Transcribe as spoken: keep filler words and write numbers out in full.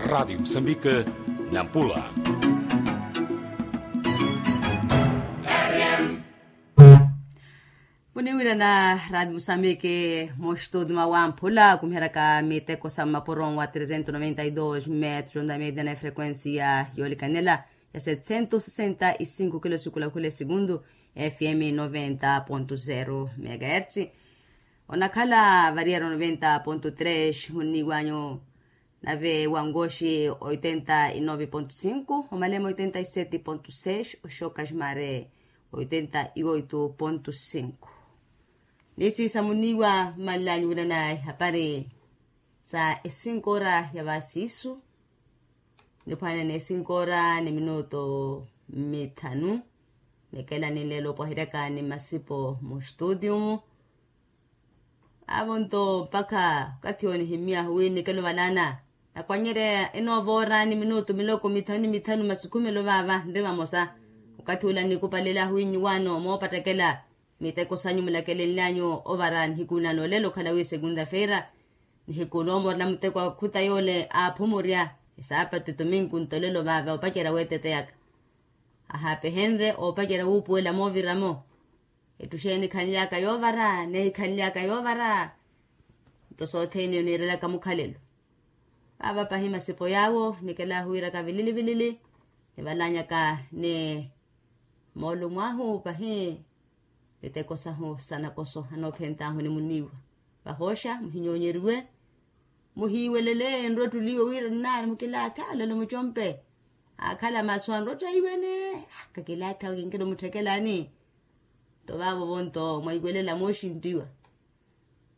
Radi musambike, nampula. Muniwira na radi musambike, mustudi mawamphula kumiheraka miteko sa mapuro wa trezentos noventa y dos metros na media na frequencia yolikanela ya setcentos sesenta y cinco kilo sikulakhule segundu, fm noventa ponto zero megahertz. Onakhala variyaro noventa ponto tres huniwanyu. Nave wangoxi oitenta y nove ponto cinco, omalema oitenta y sete ponto seis, oxoka ximare oitenta y oito ponto cinco. Nisi samuniwa mmalilanyuwela na ihapari sa esinkoora ya vasisu. Niphwanene esinkoora ni minuto mithanu. Nikela ninlelo opwahiryaka ni masipo mu studio mu. Avo nto mpakha okathi onihimyahu wi nikelo valana nakwanyerya enoovora ni minutu miloko mithanu ni mithanu masikhumelo vaava nri vamosa. Okathi ula nikupalelahu wi nyuwaano moopattakela miteko sanyu mulakelenlyanyu ovara nihiku nano olelo okhala wi segunda feira. Nihiku noomorela muteko akhuta yoole aaphumurya esaapatu etominku nto olelo vaava opacerya weeteteyaka. Ahaapehenrye oopacerya wuupuwela mooviramo. Ettu xeeni khanly'aka yoovara nehi khanly'aka yoovara. Nto sothene niirelaka mukhalelo. Vaava pahi masipo yaawo nikelahuwiraka vilili vilili. Nivalanyaka ni moolumo ahu pahi miteko sahu sanakoso anoophent'ahu ni muniiwa. Vahooxa muhinyoonyeriwe. Muhiiwelele enrottuli iwo wira nnaari mukilaatha olelo mucompe. Aakhala masu anrotta iwene. Kakilaatha kinkelo mutthekelani. Nto vaavo vonto mwaiwelela mooxinttiwa.